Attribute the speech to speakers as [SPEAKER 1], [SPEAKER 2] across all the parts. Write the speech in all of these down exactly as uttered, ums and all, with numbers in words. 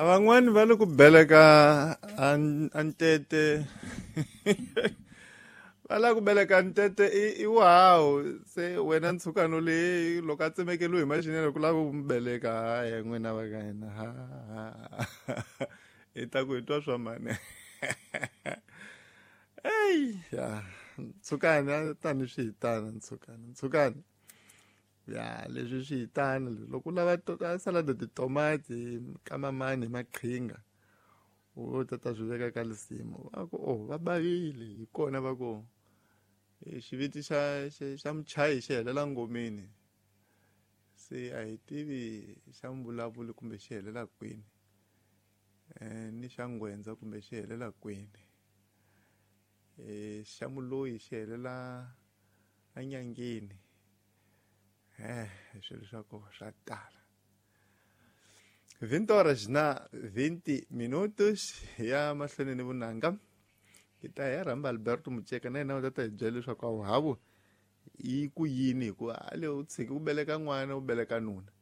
[SPEAKER 1] Van'wani va le ku beleka a ntete va lava ku beleka ntete i i wuhawu se wena ntshukano leyi loko a tsemekeliwe hi maxinelo ku lava ku mu beleka haya n'wina va ka hina ha hi ta ku hi twa swa mani eyi ya ntshukani a tani swi hi tana ntshukani ntshukani ya leswi swi hi tana loko u lava salad titomati ka mamani hi maqhinga u ta ta swi veka ka lisimu va ku oh va bavile hi kona va ku xiviti xa xa muchayi xi helela ngomeni se a hi tivi xa mvulavuli kumbe xi helela kwini ni xa nghwendza kumbe xi helela kwini xa muloyi xi helela enyangeni eh swilo swa kona swa tala vinte horas na vinte minutos ya mahlweni ni vunanga hi ta ya rhamba Alberto Mutsheka na yena u ta ta hi byela leswaku a wuhavu yi ku yini hikuva a le u tshiki ku beleka n'wana u beleka nuna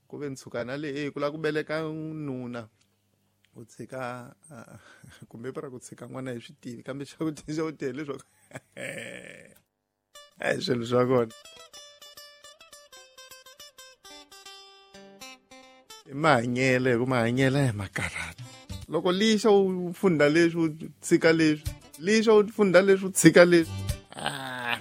[SPEAKER 1] ku ve ntshukana le e ku lava ku beleka nuna u tshika kumbe pra ku tshika n'wana hi swi tivi kambe xa ku xa ku tele leswaku e swilo swa kona i mahanyelo hi ku mahanyelo ya makarhata loko lixa u funda leswi u tshika leswi lixa u funda leswi u tshika leswi ah.